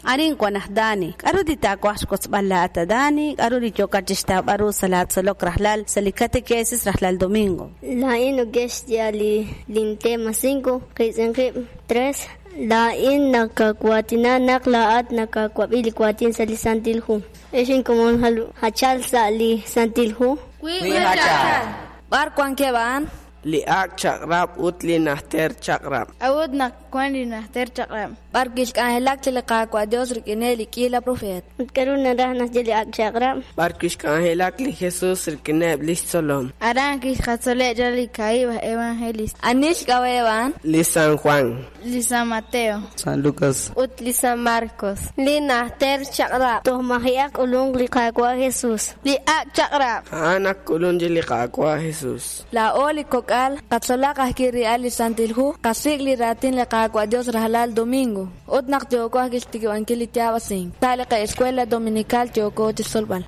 Arin wan aj Dani. K'aru li taawaj xwotzb'al laa'at a Dani? K'aru li yookat chi xtawb'al ru sa' laatzolok rajlal sa' li katekesis rajlal domingo? Laa'in neke'xye li lintema 5, qiitz'in qib' 3. Laa'in nakawaatina naq laa'at nakawab'i li waatin sa' li Santil Hu. Ex inkomon jachal sa' li Santil Hu. Wi jachal. B'ar wankeb' a'an? Li ak' chaq'rab' ut li najter chaq'rab'. A'ut naq wan li najter chaq'rab'. B'ar kixk'anjelak chi li Qaawa' Dios rik'ineb' li k'iila profeet. Ut k'aru naraj naxye li ak' chaq'rab'? B'ar kixk'anjelak li Jesus rik'ineb' lix tzolom. Aran kixqatzoleb' chaq li kaahib' aj evangelista. Ani xk'ab'a'eb' a'an? Li San Juan. Li San Mateo. San Lucas. Ut li San Marcos. Li najter chaq'rab'. Toj maji'aq k'ulunk li Qaawa' Jesus. Li ak' chaq'rab'. A'an ak k'ulunk li Qaawa' Jesus. Laa'o li kok'al qatzolaq ajwi' ri'al li Santil Hu, qasik' li raatin li Qaawa' Dios rajlal domingo. Ut naq yooko ajwi' xtikib'ankil li yaab'asink. Sa' li qa'escuela dominical yooko chi xtzolb'al.